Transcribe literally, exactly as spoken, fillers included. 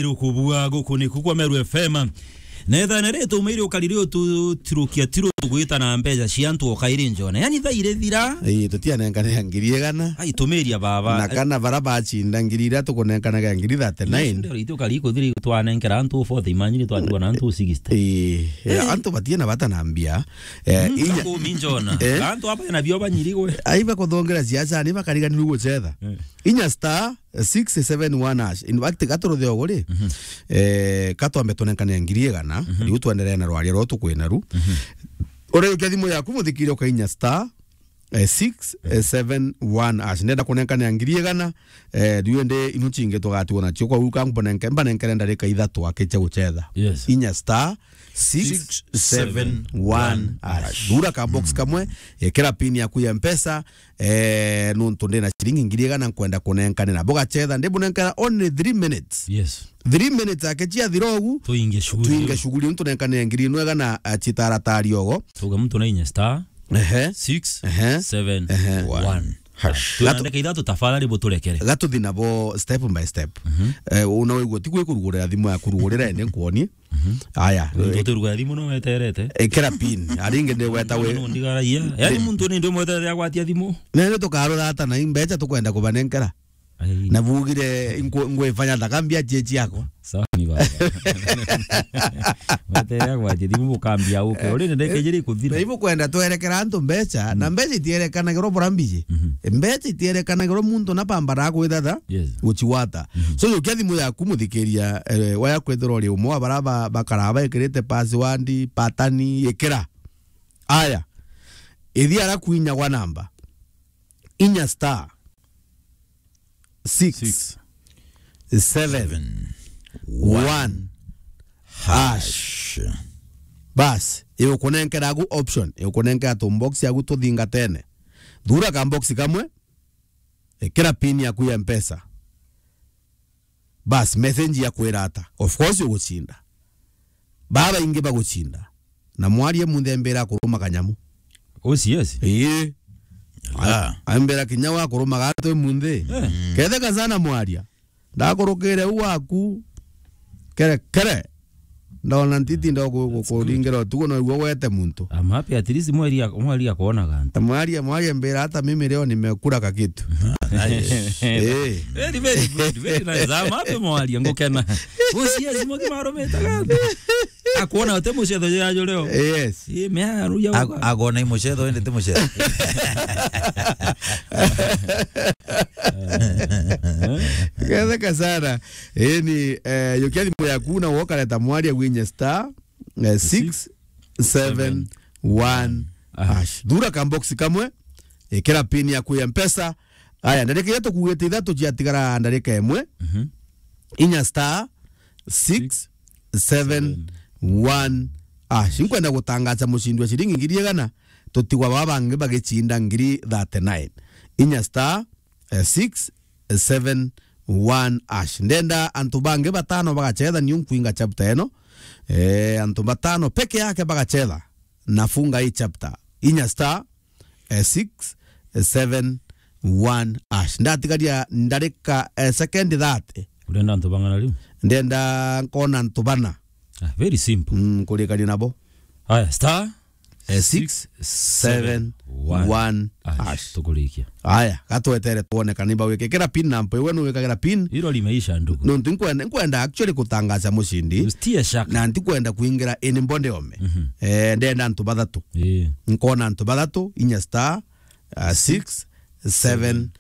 Rukubua guku ni kukwa Meru F M. Na ethana ri tumairi ukariri ututirukia tiru tugwita na mbeca cia antu o kairi njona. Yani thaa iri thira. Ii, tutianenkanira ngiri igana. Ai, tumiria baba. Na kana bara bacinda ngiri iria tukunenkanaga ngiri thirty-nine. Ndio, itu kari kuthiri twanenkera antu forty, imagine twatigwa na antu sixty. Ii, eh, antu batie na bata na mbia. Eh, mm, inya- kumi njona. Eh? Antu aba na bio banyirigwe. Ai bakuthongera siasa, ni bakariganirwe gucetha. Eh. Inya star six seven one hash. In fact, gaturuthe ugu ri, mhm, eh, katwambe tunenkane ngiri igana, mhm, riu twenderee na rwaria ruu tukwina ru. Mhm. Uriukia thimu yaku, muthikiri, ukainya star, eh, six seven one hash. Ndenda kunenkane ngiri igana, eh, riu indi inu cingi tugatigwa nacio. Kwa uka mbonenke-, mbanenkere ndarika ithatu akicha gucetha. Yes. Inya star six seven one hash. Thura ka box kamwe, ikira pin yaku ya Mpesa, eh, nuntu ndina ciringi ngiri igana nkwenda kunenkanira. Bugachetha, ndibunenkera only three minutes. Yes. Three minutes ake ciathira ugu, tuinge shughuli. Tuinge shughuli, ntunenkanire ngiri inu igana, eh, citaratari ogo. Tuga muntu na inya star, ehe, six, ehe, seven, ehe, one. Hash. Tuandike ithatu, tafadhali buturekere. Gatuthi nabo step by step. Mhm. Eh, una wigua ti gwikurugurira thimu yaku, rugurira ende nkwonie. Mhm. Aya. Ntutirugura thimu no weterete. Ikira pin. Aringi ndi weta wi. No ndigaragia. Yani muntu ni ndi mweterete agwatia thimu. Nene tukarura ata na imbecha tukwenda kubanenkera. Ai. Na bugire ngwifanya thaka mbia cie ciakwa. Sawa ni baba. Mweterere agwatie thimu mukambia uke. Uri nende kejiri kuthira. Na ibu kwenda twerekera antu mbecha, na mbecha itierekanagirwo bura mbiji. Mhm. Mbecha itierekanagirwo muntu na pambara gwithatha. Yes. Guchiwata. Mhm. So, yukia thimu yaku, muthikiria, eh, waya kwithirwa uri umwe wa bara ba-, bakara baikirite password, patani, ikira. Aya. Ithi ara kuinya gwa namba. Inya star six, six, seven, seven, one, one, hash. Hash. Bas, igukunenkera agu option, igukunenkera tu box yagu tuthingatene. Thura ka box kamwe, ikira pin yaku ya Mpesa. Bas, message ya kwira ata? Of course ugucinda. Babaingi bagucinda. Na mwaria munthi ambira kuruma kanyamu. O C S? Ii. Ah. Ambira kinya wa kuruma gatwe munthi. Eh. Ketheka sana mwaria. Ndakurukire u waku. Kere, kere. Ndona ntiti ndo ku-, ku-, kuringira utugo no igwe wete muntu. I'm happy at least mweri ya, mweri ya kuona gantu. Mwaria, mwaria mbira hata mimi leo nimekula kakitu. Ah, nice. Eh. Very, very good, very nice. I'm happy mwaria, ngukena. Usiye simu kimarumite gantu. Akuona ute mucetho jajo leo. Yes. Ye mea ruya. Ag-, agona i mucetho, ende ti mucetho. Ketheka sana. Eni, eh, yukia thimu yaku na wokareta mwaria gwinye star, eh, six seven one hash. Thura ka box kamwe, ikira pin yaku ya Mpesa. Aya, ndarika iria tukugite ithatu ciatigara ndarika imwe. Mhm. Inya star six seven one hash. Nkwenda gutangaza mucindi wa ciringi ngiri igana, tutigwa baba bangi bagicinda ngiri thirty-nine. Inya star eh, six seven one hash. Ndenda antu bangi batano bagachetha, niu nkwinga chapter eno. Eh, antu batano peke yake bagachetha, nafunga hii chapter. Inya star, eh, six seven one hash. Ndatigaria ndarika, eh, second thirty. Urenda antu bang'ana riu? Ndenda nkona antu bana. Ah, very simple. Mm, kurikania nabo. Aya, star, eh, six seven one hash. Tukurikia. Aya, gatwetere twone kana ibawike. Kira pin number, iwe nuwikagira pin. Iro limeisha, ndugu. Nontu nkwenda, nkwenda actually kutangaza mucindi. Usitie shaka. Na ntikwenda kuingira ini mbonde ome. Mhm. Eh, ndenda antu bathatu. Ii. Nkona antu bathatu, inya star, uh, six seven